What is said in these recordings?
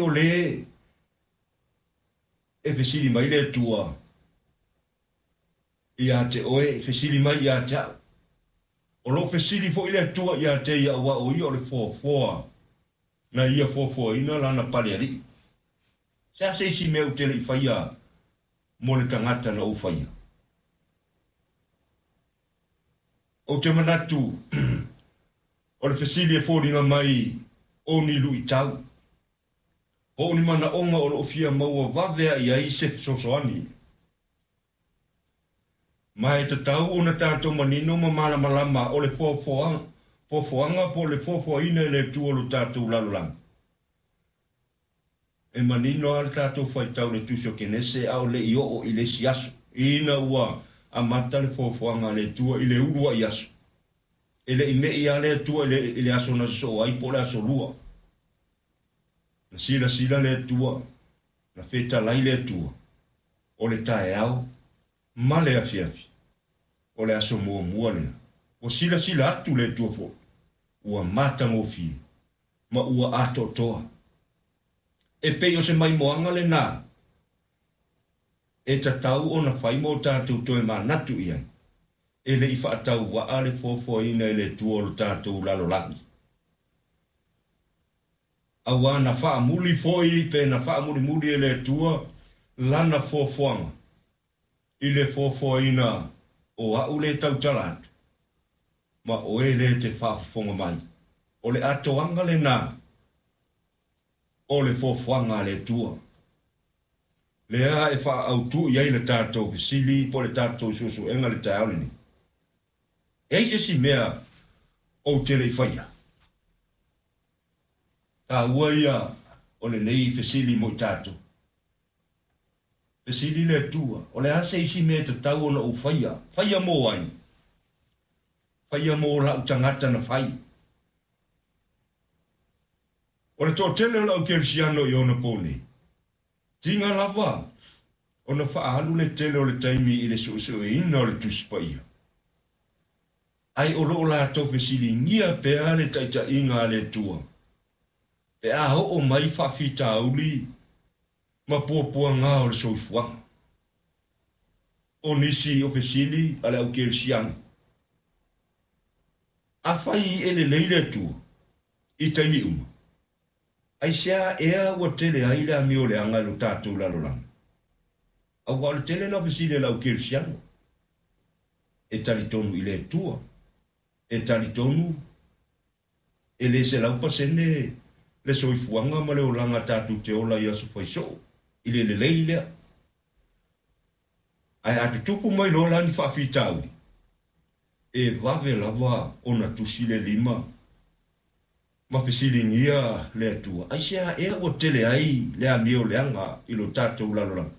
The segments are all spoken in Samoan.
o lē e fesili mai le Atua ia te oe, e fesili mai ia te au. O lo o fesili foi le Atua ia te ia aua o ia o le foafoa na ia foafoaina lana palealii. Se a se isi mea ou te le i faia mo le tagata na ou faia? Ou te manatu o le fesili e foliga mai o ni luitau, po o ni manaoga o lo o fia maua vave ae i ai se fesoasoani. Ma e tatau ona tatou manino ma malamalama o le foafoaga po o le foafoaina e le Atua o lo tatou lalolagi. E manino lava le tatou faitau i le Tusi o Kenese a o le i oo i le isi aso, ina ua amata le foafoaga a le Atua i le uluai aso. E le i me'i lava le Atua i le aso na sosoo ai po o le aso lua. Na silasila le Atua, na fetalai le Atua, o le taeao ma le afiafi, o le aso muamua lea. Ua silasila atu le Atua foi, ua matagofie ma ua atoatoa. E pei o se maimoaga lenā e tatau ona fai mo tatou toe manatu i ai, e le i faatauvaa le foafoaina e le Atua o lo tatou lalolagi. Aua na faamuli foi pe na faamulimuli e le Atua lana foafoaga i le foafoaina o a'u lē tautala atu ma oe lē te faafofoga mai. O le atoaga lenā o le foafoaga a le Atua. Lea e faaautu i ai le tatou fesili po o le tatou suesuega i le taeao lenei. E ai se isi mea ou te le i faia? Taua ia o lenei fesili mo i tatou. Fesili le Atua, O le a se isi mea e tatau ona ou faia? Faia mo ai? Faia mo la'u tagata na fai. O le toatele o le au Kerisiano i ona po nei, tiga lava ona faaalu le tele o le taimi i le suesueina o le Tusi Paia. Ae o lo o latou fesiligia pea le taitaiga a le Atua pe a oo mai faafitauli ma puapuaga o le soifuaga. O nisi o fesili a le au Kerisiano, Afai e lelei le Atua i taimi uma, aisea ea ua tele ai le amioleaga i lo tatou lalolagi? Aua o le tele na o fesili a le au Kerisiano, e talitonu i le Atua, e talitonu E le 100% le soifuaga ma le olaga tatou te ola i aso faisoo i le lelei lea. Ae a tutupu mai loa la ni faafitauli, e vave lava ona tusi le lima ma fesiligia le Atua, Aisea ea ua tele ai le amio leaga i lo tatou lalolagi?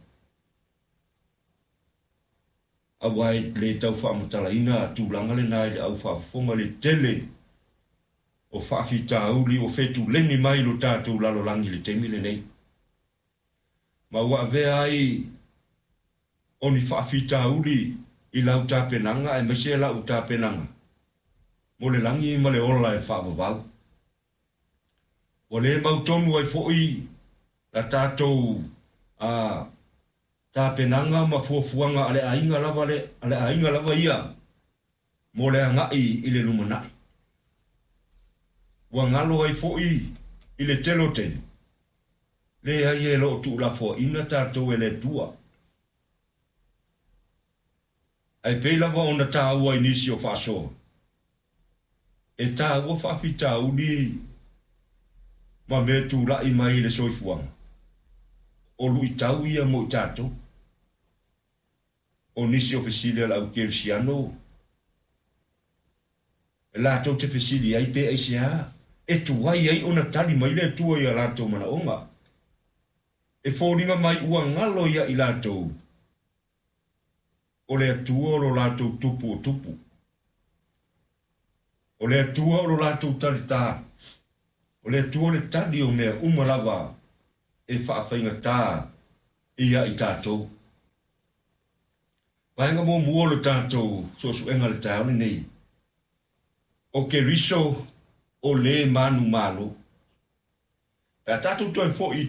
Aua e le tau faamatalaina tulaga lena i le au faafofoga i le tele o faafitauli ua fetuleni mai i lo tatou lalolagi i le taimi lenei, ma ua avea ai o ni faafitauli i lau tapenaga aemaise la'u tapenaga mo le lagi ma le ola e faavavau. Ua le mautonu ai foi la tatou a tapenaga ma fuafuaga a le aiga lava a le aiga lava ia mo le agai i le lumanai. Ua galo ai foi i le tele o taimi, leai e lo o tuulafoaina tatou e le Atua. Ae pei lava ona taua i nisi o faasoa, e taua faafitauli ma mea tulai mai i le soifuaga, o luitau ia mo i tatou. O nisi o fesili a le au Kerisiano, latou te fesili ai pe aisea e tuai ai ona tali mai le Atua i a latou manaoga. E foliga mai ua galo ia i latou o le Atua o lo latou tupu o tupu. O le Atua o lo latou talitā. O le Atua o le tali o mea uma lava e faafaigatā ia i tatou. Vaega muamua o le tatou suesuega i le taeao lenei, o Keriso o le manumalo. Pe a tatou toe foi